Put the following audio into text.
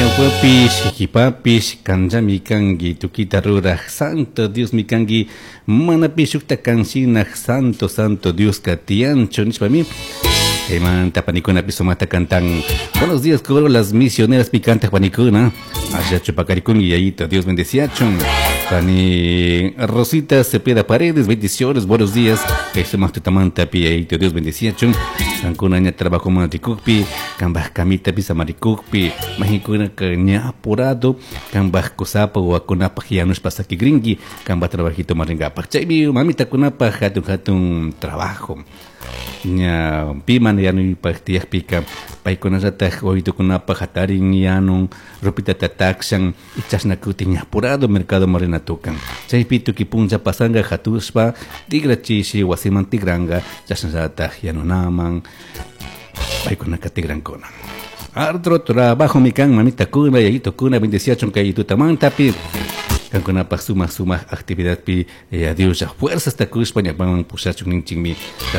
Ñawpapish, qipapish, kanllami kanki, tukita ruraj, Santo Diosmi kanki, manapish shukta kanshinaj, Santo, Santo Dioska tiyanchu, nishpami, Chaymanta panikunapi sumaqta cantan. Buenos días, coro las misioneras picantes panikuna. Allachu paqarikunki, yayito, Dios bendeciachun. Pani Rosita Cepeda Paredes, bendiciones, buenos días. Kay sumaq tutamanta pi yayito, Dios bendeciachun. Kankuna ña trabajo rikukpi, kambaj kamitapi samarikukpi, mahinkuna ña apurado, kambaj kusapa wawakunapaj yanushpa sakigrinki, kambaj trabajito maringapaj. Chaymi mamitakunapaj hatun hatun trabajo. Ña pi mana yanuypaj tiyakpika paykunallataj wawitukunapaj hatarin yanun ropitata takshan y chashna kutin ña apurado mercado rina tukan. Chaypi tukuy punlla pasanga hatushpa tigrachishi wasiman tigranga chashnallataj yanunaman paykunaka tigrankuna. Arduo trabajo mi kan mamitakuna yayitukuna bendeciachun kay tutamantapi kankunapaj sumaq sumaq actividadpi Dios fuerzas takushpa ñapaman pushachun ninchikmi.